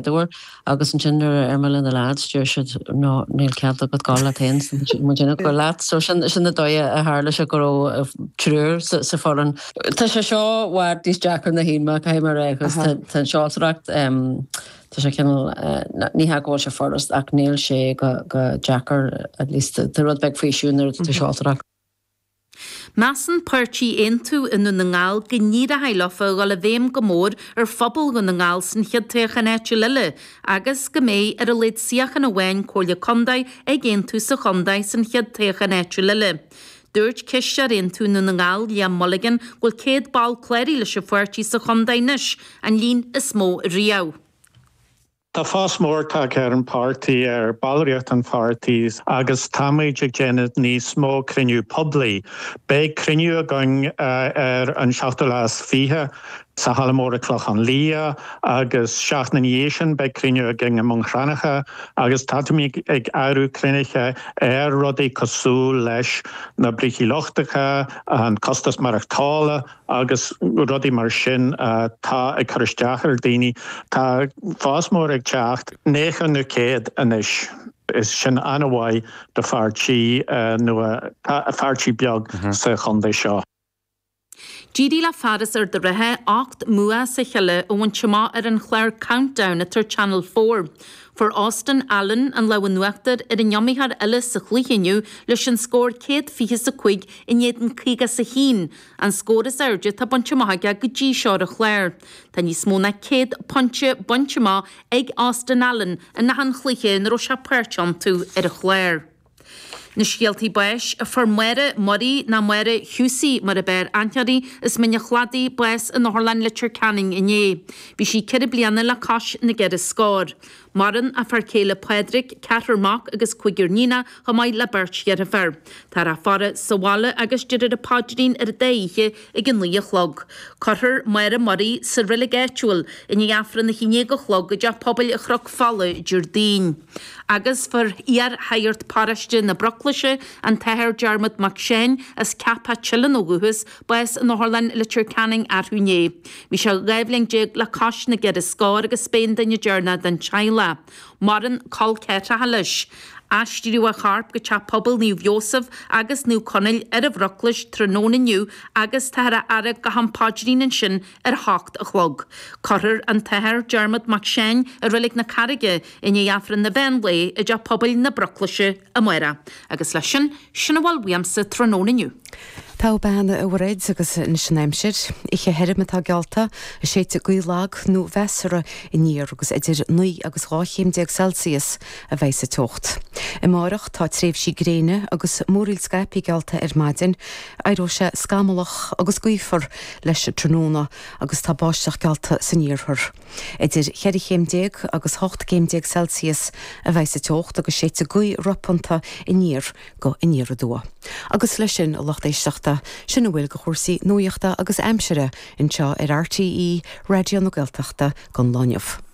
uair agus ansin nuair a deir mé le na lads deir siad no níl cead agat gabháil leat féin muid ag gabháil leat. So sin sin an dóigh a tharla sé go raibh triúr sa sa foireann. Tá sé seo i bhfad níos deacra ná shíl mé caithfidh mé a rá agus tá tá an seoltóireacht tá sé cineál ní hea go bhfuil sé furast ach níl sé go go deacair at least tá rud beag faoiseamh nuair atá tú seoltóireacht. Measann páirtí Aontú i nDún na nGall go n-éireoidh leofa a dhul i bhfeidhm go mór ar phobal Dhún na nGall san chéad toghchán áitiúil eile agus go mbeidh ar a laghad suíochán amháin Comhairle Contae ag Aontú sa chontae san chéad toghchán áitiúil eile. Dúirt Cisteoir Aontú i nDún na nGall, Liam Mulligan, go bhfuil 100 ball cláraithe leis an pháirtí sa chontae anois, an líon is mó riamh. Tá fás mór tagtha ar an bpáirtí, ar ballraíocht an pháirtí agus táimid ag déanamh níos mó cruinniú poiblí. Beidh cruinniú againn ar an seachtú lá is 20 sa Halla Mór i Clochán Liath agus seachtain ina dhiaidh sin beidh cruinniú againn i mBun Cranncha agus táimid ag eagrú cruinnithe ar rudaí cosúil leis na brící lochtacha, an costas maireachtála, agus rudaí mar sin atá ag cur isteach ar daoine. Tá fás mór ag teacht, 90 nó 100 anois, is sin an-mhaith do pháirtí nua, pháirtí beag sa chontae seo. D'éirigh le fear as Ard an Rátha 8 mbua as a chéile a bhaint amach ar an chlár Countdown atá ar Channel 4. Fuair Austin Allen an lámh in uachtar ar an iomaitheoir eile sa chluiche inniu leis an scór 125 in éadan 51, An scór is airde atá bainte amach aige go dtí seo ar an chlár. Tá níos mó ná 100 pointe bainte amach ag Austin Allen in achan chluiche ina raibh sé páirteach iontu ar an chlár. Na scéaltaí báis, Fuair Máire Murray, nó Máire Hughsie mar ab fhearr aithne uirthi, as Mín an Chladaigh, bás in Otharlann Leitir Ceanainn inné. Bhí sí 4 bliana le cois na gceithre scór. Maireann a fear céile Pádraig, ceathrar mac agus cúigear níonach, chomh maith le beirt dheirféar. Táthar á faire sa bhaile agus déarfar an paidrín ar an dá oíche ag 9 a chlog. Cuirfear Máire Murray sa reilig áitiúil i ndiaidh Aifreann a 11 a chlog i dTeach Pobail Chnoc Fola Déardaoin. Agus fuair iar-shagart paróiste na Bruclaise, an tAthair Diarmuid Mac Seáin, as Ceapach Teileann ó dhúchas, bás in Otharlann Leitir Ceanainn arú inné. Bhí sé 12 bhliain le cois na gceithre scór agus b'é an duine deireanach den teaghlach. Maireann col ceathracha leis. Aistríodh a chorp go Teach Pobail Naomh Iósaf agus Naomh Conaill ar an Bhruclais tráthnóna inniu agus táthar á fhaire go ham paidrín ansin ar a hocht a chlog. Cuirfear an tAthair Diarmuid Mac Seáin i Reilig na Carraige i ndiaidh Aifreann an mheán lae i dTeach Pobail na Bruclaise amárach. Agus leis sin, sin a bhfuil uaimse tráthnóna inniu. Togha bean a Mhairéad agus anois an aimsir. Oíche thirim atá geallta, séidfidh gaoth lag nó mheasartha aniar agus idir 9 agus 12 chéim Celsius a bheidh sa teocht. Amárach tá tréimhsí gréine agus múraíl scaipthe geallta ar maidin. Éireoidh sé scamallach agus gaofar leis an tráthnóna agus tá báisteach geallta san iarthar. Idir 14 chéim agus 18 gcéim Celsius a bheidh sa teocht agus séidfidh gaoth ropánta aniar go aniar aduaidh. Agus leis sin, a lucht éisteachta, sin a bhfuil de chúrsaí nuachta agus aimsire anseo ar RTÉ Raidió na Gaeltachta don lá inniu.